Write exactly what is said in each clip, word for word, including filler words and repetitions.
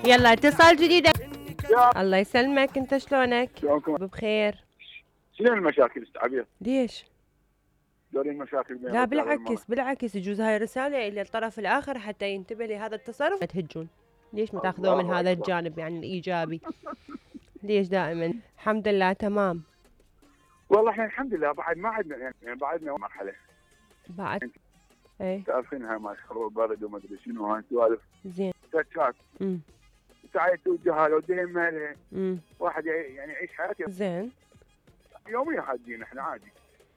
يلا اتصال جديد. يا الله يسلمك، انت شلونك؟ شلونكم؟ بخير. شنو المشاكل استعبير؟ ليش؟ دوري المشاكل بين لا الرجال والمرأة. بالعكس بالعكس، يجوز هاي رسالة إلى الطرف الآخر حتى ينتبه لهذا التصرف. تهجون ليش ما تاخذوه من الله هذا أكبر. الجانب يعني الإيجابي؟ ليش دائما؟ الحمد لله تمام. والله احنا الحمد لله بعد ما عندنا يعني بعدنا مرحلة بعد ايه تعرفين هاي مال حروب برد وما ادري شنو هاي سوالف زين. تاتشات امم ساعات توجهها لو دين مالها امم واحد يعني يعيش حياته زين. يوميا حاجين احنا عادي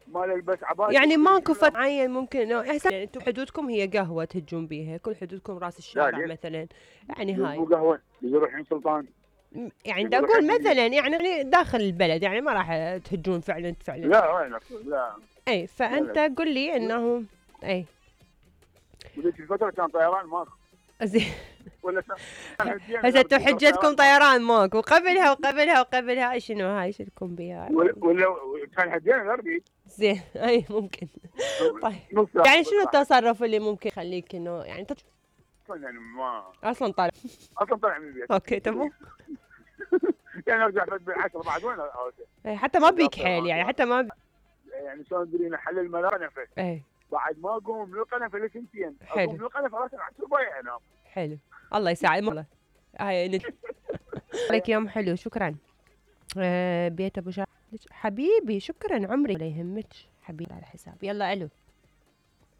ما نلبس عباية يعني ماكو فت معين ممكن انه احسن يعني انتم حدودكم هي قهوة تهجون بيها، كل حدودكم راس الشارع مثلا يعني هاي مو قهوة يروحون سلطان م- يعني دا اقول مثلا يعني داخل البلد يعني ما راح تهجون فعلا فعلا. لا وينك لا. اي فانت قل لي انه اي وذيك الفترة كان طيران ماكو زين. ولا هسه انتم حجتكم طيران ماكو، وقبلها وقبلها وقبلها شنو هاي شلكم بها؟ ولا ولا كان حجينا الاربي. زين اي ممكن. طيب يعني شنو التصرف اللي ممكن يخليك انه يعني انت يعني ما اصلا طالع اصلا طالع من البيت. اوكي تمام. يعني ارجع بالعشرة بعد وين اي حتى ما بيك حيل يعني حتى ما بي... يعني شلون تدرين حل الملا قنفه. اي بعد ما اقوم من القنفه لسنتين حلو. اقوم من القنفه راسا على ربايع انام. حلو الله يساعد والله. هاي لك يوم حلو شكرا. آه بيت ابو شا حبيبي شكرا عمري. لا يهمك حبيبي على حساب. يلا الو.